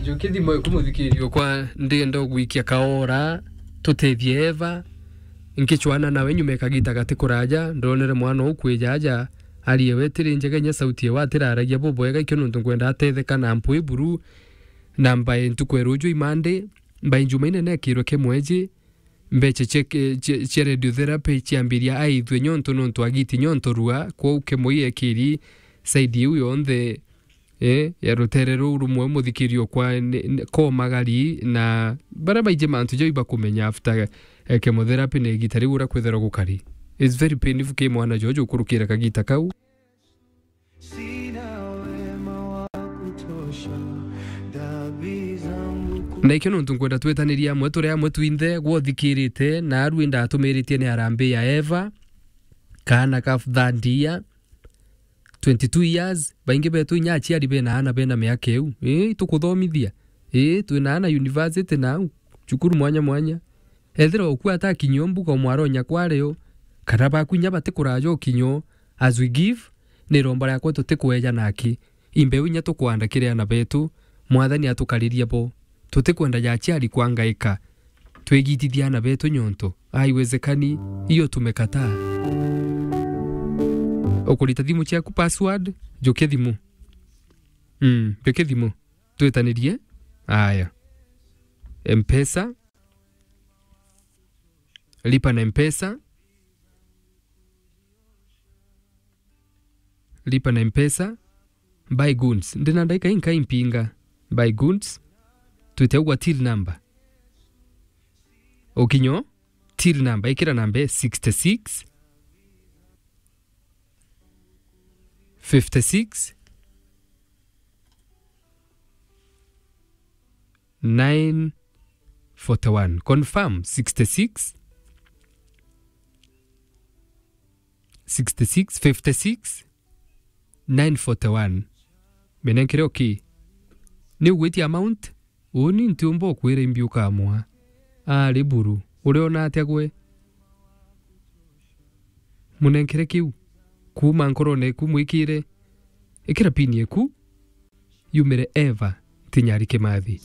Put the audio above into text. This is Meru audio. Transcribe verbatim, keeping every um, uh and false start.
Njuki thimo iku, muthikiririo kwa, ndienda gwikia kaora, tutethie Eva. Nkicwana nawe nyuma ya kagita gati kuraja, ndonere mwana ukwija aja, arie we tiri njega inya sauti ewe atiraragia bubwega, ikio nontu nkwenda atetheka na mpwi buru, na mbae ntuku ya ruju imande, mbae Jumaine nekirwe kimweji, mbecha cia, cia, cia radiotherapy ciambiria aithue nyonto nontu agiti nyonto rua, kwou kimwe ekiri side iu yonthe, eh, ya rutere ruu rumwe muthikirio kwa ni, ni, komagari na baria baingi mantu jau ibakumenya after, eh, chemotherapy na igita riu uria kwithirwa gukari. It's very painful ki mwana jojo ukurukira kagita kau. Na ikio nontu nkwenda twetanirie amwe turi amwe twinthe gwa uthikirite, na aru indatumiritie ni harambee ya Eva, kaana ka thirty year, twenty-two years, baingi betu inya aciari bena aana bena miaka iu. Ii, itukuthomithia. Ii, twina aana university nau, cukuru mwanya mwanya. Ethirwa uku atakinyio mbuga umwaronya kwario, kana baku inya batikuraja ukinyo, as we give, ni iromba riakwa tutikweja naki. Imbeu inya tukwanda kiri aana betu, Mwathani atukariria bo. Tutikwenda ja aciari kwangaika. Twigitithia aana betu nyonto. Haiwezekani, hiyo tumekataa. Ukurita thimu ciaku password, jukia thimu. Mm, jukia thimu. Twitanirie. Aya. Mpesa. Lipa na Mpesa. Lipa na Mpesa. Buy goods. Ndina ndaika inka impinga. Buy goods. Twite ugwa till number. Ukinyo, till number. Ikira namba sixty-six, fifty-six, nine forty-one. Confirm sixty-six, sixty-six, fifty-six, nine forty-one. Minenkere okay. Ni ugwitia amount? Uni ntiumba ukwira imbi ukamwa. Ari buru. Uriona atia gwe? Munenkere kiu. Kuuma nkorone eku mwikire. Ikira pin eku. Yumire Eva Tinyari Kimathi.